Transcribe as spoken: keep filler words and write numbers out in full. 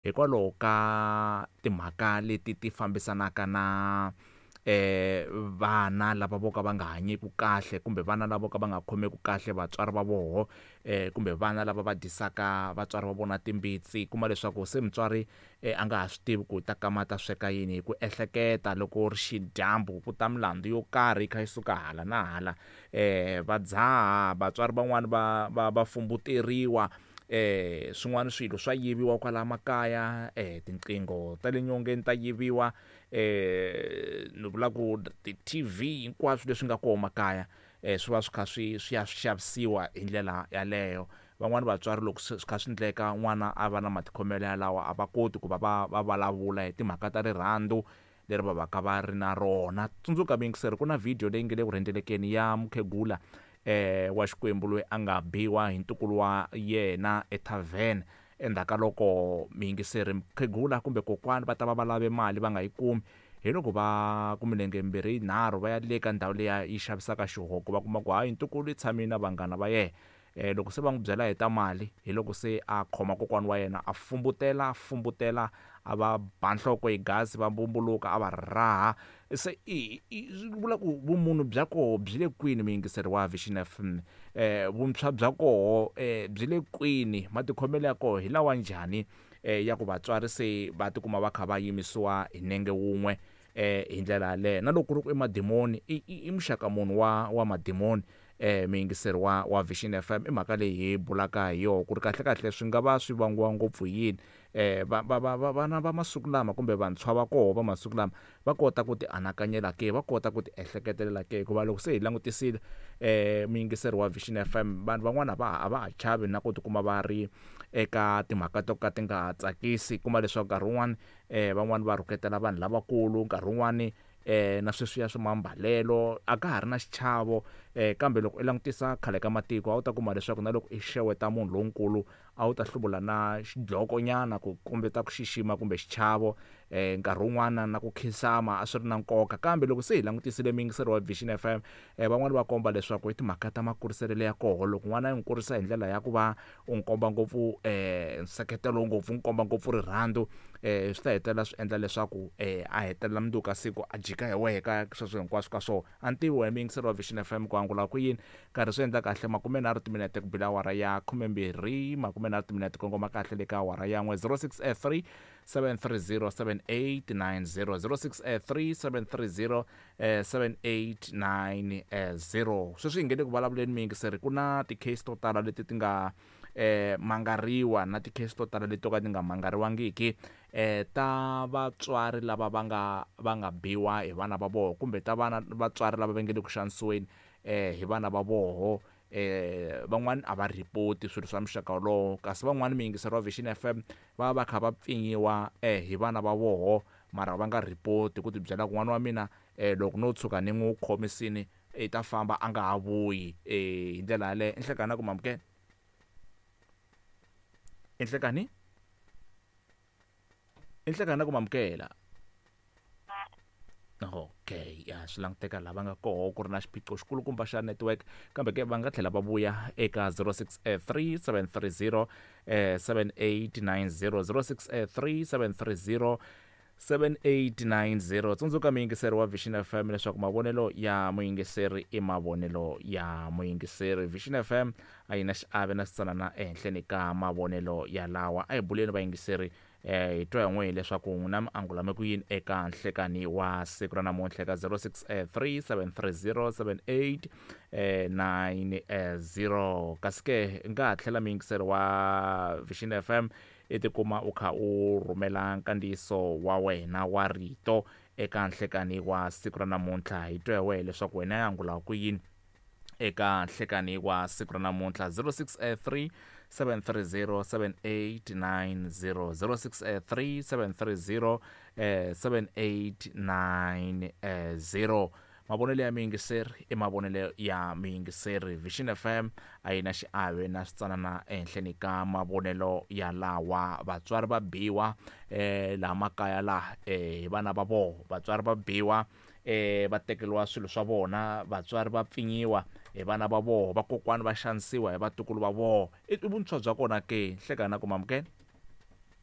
Hikwalaho ka timhaka leti ti fambisanaka na eh vana lava vo ka va nga hanyeki kahle kumbe vana lava vo ka va nga khomeku kahle vatswari va voho eh kumbe vana lava va dyisaka vatswari va vona timbitsi kuma leswaku se mutswari a nga ha swi tivi ku ta kama ta sweka yini hi ku ehleketa loko ri xidyambu ku ta milandzu yo karhi yi kha yi suka hala na hala eh va dzaha vatswari van'wani va va va fumbuteriwa eh swin'wana swilo swa yiviwa kwala makaya eh tinqingho ta le nyongeni ta yiviwa eh ni vula ku ti-T V hinkwaswo leswi nga kona makaya eh swi va swi kha swi swi ya xavisiwa hi ndlela yaleyo. Van'wani vatswari loko swi kha swi endleka n'wana a va na matikhomelo yalawa a va koti ku va va va vulavula hi timhaka ta rirhandzu leri va va ka va ri na rona. Tsundzuka muyingiseri ku na video leyi nge le ku rhendzelekeni ya mukhegula eh wa Xikwembu loyi a nga biwa hi ntukulu wa yena ethavhene endzhaku ka loko muyingiseri mukhegula kumbe kokwani va ta va va lave mali va nga yi kumi hi loko va ku milenge mimbirhi yinharhu va ya le ka ndhawu liya yi xavisaka xihoko va kuma ku hayi ntukulu yi tshamile na vanghana va yena eh loko se va n'wi byela hi ta mali hi loko se a khoma kokwana wa yena a fumbutela fumbutela a va ba nhloko hi gasi va mbumbuluka a va raha se i vula ku vumunhu bya koho byi le kwini muyingiseri wa Vision F M eh vuntshwa bya koho eh byi le kwini matikhomelo ya koho hi lawa njhani eh ya ku vatswari se va tikuma va kha va yimisiwa hi nenge wun'we eh hi ndlela yaleyo na loko ku ri ku i madimoni i i muxaka munhu wa wa madimoni eh muyingiseri wa wa Vision F M i mhaka leyi hi bulaka hi yona ku ri kahle kahle swi nga va swi vangiwa ngopfu hi yini eh va va va vana va masiku lama kumbe vantshwa va koho va masiku lama va kota ku ti anakanyela ke va kota ku ti ehleketelela ke hikuva loko se hi langutisile eh muyingiseri wa Vision F M vanhu van'wana va a va ha chavi na ku tikuma va ri eka timhaka to ka ti nga tsakisi kuma leswaku nkarhi wun'wani eh van'wani va rhuketela vanhu lavakulu nkarhi wun'wani eh na sweswiya swa mambalelo a ka ha ri na xichavo eh kambe loko i langutisa khale ka matiko a wu ta kuma leswaku na loko i xeweta munhu lonkulu a wu ta hluvula na xidloko nyana ku kombeta ku xixima kumbe xichavo eh nkarhi wun'wana na ku khinsama a swi ri na nkoka kambe loko se hi langutisile muyingiseri wa Vision F M eh van'wani va komba leswaku i timhaka ta makuriselo ya koho loko n'wana yi n'wi kurisa hi ndlela ya ku va u n'wi komba ngopfu eh nseketelo ngopfu n'wi komba ngopfu rirhandzu eh swi ta hetelela swi endla leswaku eh a hetelela mundzuku ka siku a jika hi wehe ka sweswo hinkwaswo ka swona. A ni tivi wena muyingiseri wa Vision F M ku angula ku yini karhi swi endla kahle makume nharhu timinete ku bila awara ya khumembirhi makume nharhu timinete kongoma kahle le ka awara ya n'we zero six three seven three zero seven eight nine zero zero six three seven three zero seven eight nine zero. Sweswi hi nge le ku vulavuleni muyingiseri ku na ti-case to tala leti ti nga eh mangariwa na ti-case to tala leti to ka ti nga mangariwangiki eh ta vatswari lava va nga va nga biwa hi vana va voho kumbe ta vana vatswari lava va nge le ku xanisiweni eh hi vana va voho eh van'wani a va report swilo swa muxaka wolowo kasi van'wani muyingiseri wa Vision F M va va kha va pfinyiwa eh hi vana va voho mara va nga report ku ti byela ku n'wana wa mina eh loko no tshuka ni n'wi khomisini i ta famba a nga ha vuyi eh hi ndlela yaleyo. Enhlekani ku mamukela enhlekani enhlekani ku mamukela okay ya swi languteka lava nga koho ku ri na xiphiqo xikulukumba xa network kambe ke va nga tlhela va vuya eka zero six three seven three zero seven eight nine zero zero six three seven three zero seven eight nine zero. Tsundzuka muyingiseri wa Vision F M leswaku mavonelo ya muyingiseri i mavonelo ya muyingiseri. Vision F M a yi na xiave na xitsanana ehenhleni ka mavonelo ya lawa. A hi buleni vayingiseri eh hi twa hi n'we leswaku n'wina mi angulame ku yini eka nhlekani wa siku ra namuntlha eka zero six three seven three zero seven eight nine zero. Kasi ke nga ha tlhela muyingiseri wa Vision F M i tikuma u kha u rhumela nkandziyiso wa wena wa rito eka nhlekani wa siku ra namuntlha hi twa hi wehe leswaku wena ya angula ku yini eka nhlekani wa siku ra namuntlha zero six three seven three zero seven eight nine zero zero six three seven three zero seven eight nine zero. Mavonelo ya muyingiseri i mavonelo ya muyingiseri. Vision F M a yi na xiave na switsanana ehenhleni ka mavonelo ya lawa. Vatswari va biwa eh laha makaya laha eh hi vana va voho vatswari va biwa eh va tekeriwa swilo swa vona vatswari va pfinyiwa hi vana va voho vakokwani va xanisiwa hi vatukulu va voho i vuntshwa bya kona ke nhlekani na ku mamukela.